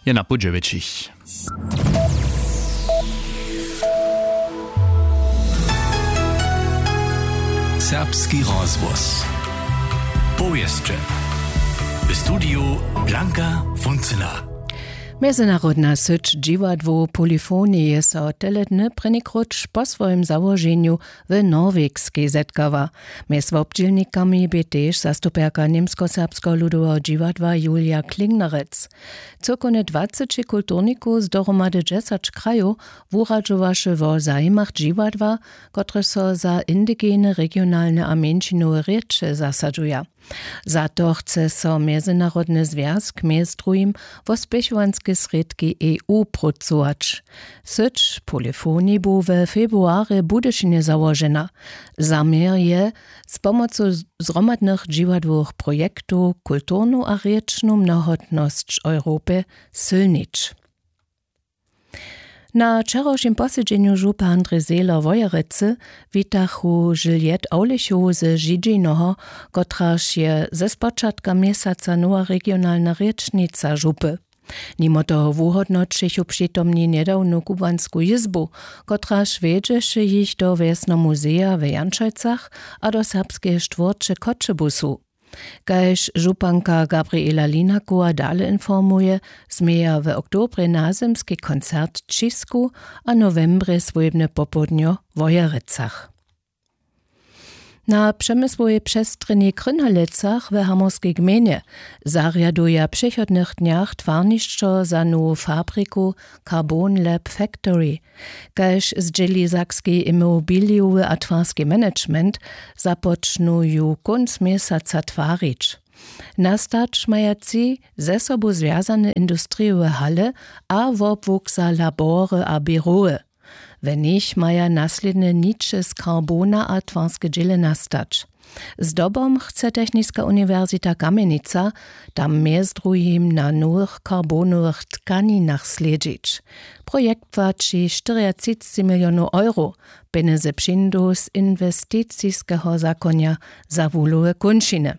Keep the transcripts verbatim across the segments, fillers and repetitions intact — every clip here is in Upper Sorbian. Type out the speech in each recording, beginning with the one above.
Je na pół dźewjećich. Serbski rozhłos. Powěsće. W studiju Blanka Funcyna. Mjezynarodna syć dźiwadłow Polyphony je so tele dny prěnikrótš po swojim załoženju w Norwegskej zetkała. Mjez wobdźělnikami bě tež zastupjerka Němskoserbskeho ludoweho dźiwadła Julia Klingnerec. Cyłkowne dwaceći kulturnikow z dohromady dźesać krajow wuradźowaše wo zajimach dźiwadła, kotrež so za indigene, regionalne a mjeńšinowe rěče zasadźuja. Za to chce so Mjezynarodny zwjazk mjez druhim wo spěchowanske srědki E U prócować. Syć Polyphony bu we februarje w Budyšinje załožena. Zaměr je, z pomocu z-, zhromadnych dźiwadłowych projektow kulturnu a rěčnu mnohotnosć Europy sylnić. Na wčerawšim posedźenju župy Andrej Zehler Wojerecy witachu Juliette Awlichow ze Židźinoho, kotraž je ze spočatka měsaca nowa regionalna rěčnica župy. Nimo toho wuhódnoćichu přitomni njedawnu kubłansku jězbu, kotraž wjedźeše jich do wjesnomuzeja w Janšojcach a do serbskeje štwórće Choćebuzu. Kaž županka Gabriela Linakowa dale informuje, změja w oktobrje nazymski koncert w Ćisku a nowembrje swójbne popołdnjo w Wojerecach. Na přemysłowej přestrjenjej w Krynhalecach w hamorskej gmejnje zarjaduja w přichodnych dnjach twarnišćo za nowu fabriku Carbon Lab Factory. Kaž zdźěli sakski imobilijowy a twarski management, započnu ju kónc měsaca twarić. Nastać maja tři ze sobu zwjazane industrijowe hale a wobłuk za labory a běrowy. We nich maja naslědnje niče z karbona a twarske dźěle nastać. Zdobom chce Techniska uniwersita Kamjenica tam mjez druhim na nowych karbonowych tkaninach slědźić. Projekt płaći štyriatřicći milionow euro. Pjenjezy přińdu z inwesticiskeho zakonja za wuhlowe kónčiny.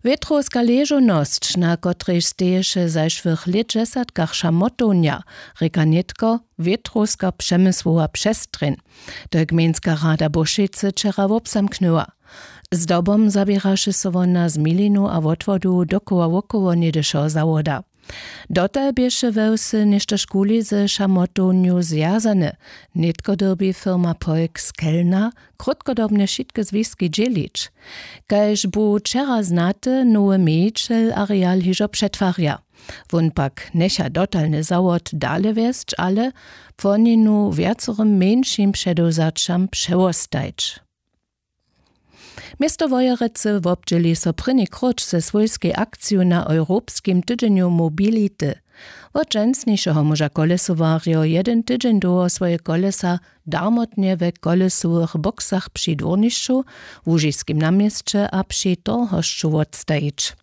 Wětrowska ležownosć, na kotrejž steješe zašłych lětdźesatkach šamotownja, rěka nětko wětrowska přemysłowa přestrjeń. To je gmejnska rada Bušecy wčera wobzamknyła. Zdobom zaběraše so wona z milinu a wotwodu dokoła wokoło něhdyšeho zawoda. Dotal běše we wsy něštožkuli ze šamotownju zwjazane. Nětko dyrbi firma Polk z Kelna krótkodobnje wšitke zwiski dźělić. Kaž bu wčera znaty, nowy mějićel areal hižo přetwarja. Wón pak njecha dotalny zawod dale wjesć, ale płoninu wjacorym mjeńšim předewzaćam přewostajć. Město Wojerecy wobdźěli so prěni krótš ze swójskej akciju na Europskim tydźenju mobility. Wot dźensnišeho móža kolesowarjo jedyn tydźeń dołho swoje kolesa darmotnje we kolesowych boksach při dwórnišću, łužiskim na měsće a při torhosću wotstajić.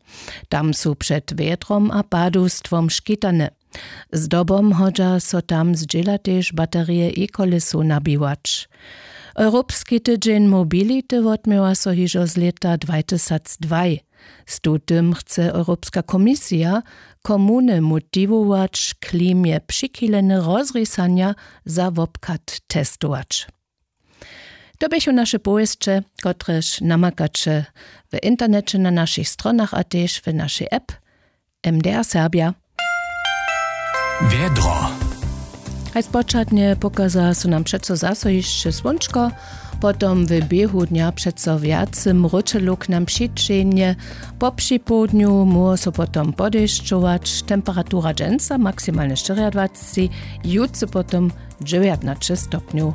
Tam su před wjetrom a padowstwom škitane. Zdobom hodźa so tam zdźěla tež baterije e-kolesow nabiwać. Europski tydźeń mobility wotměła so hižo z lěta dwajtysacdwaj. Z tutym chce Europska komisija komuny motiwować, klimje přichilene rozrisanja za wobchad testować. To běchu naše powěsće, kotrež namakaće w interneće na našich stronach a tež w našej app M D R Serbia. Wjedro. Haj spočatnje pokaza so nam přeco zaso hišće słónčko, potom w běhu dnja přeco wjace mróčelow k nam přićehnje. Po připołdnju móhło so potom podešćować. Temperatura dźensa maksimalnje štyriadwacci, jutře potom dźewjatnaće stopnjow.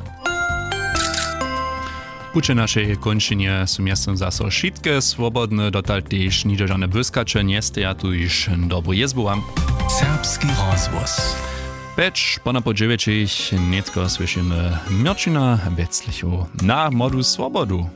Puće našej kónčinje su mjeztym zaso wšitke swobodne, dotal tež nihdźe žane błyskaće njesteja, tuž dobru jězbu wam. Serbski rozhłos. Pjeć ponapoł dźewjećich nětko słyšimy Měrćina Weclichow na Młodu Swobodu.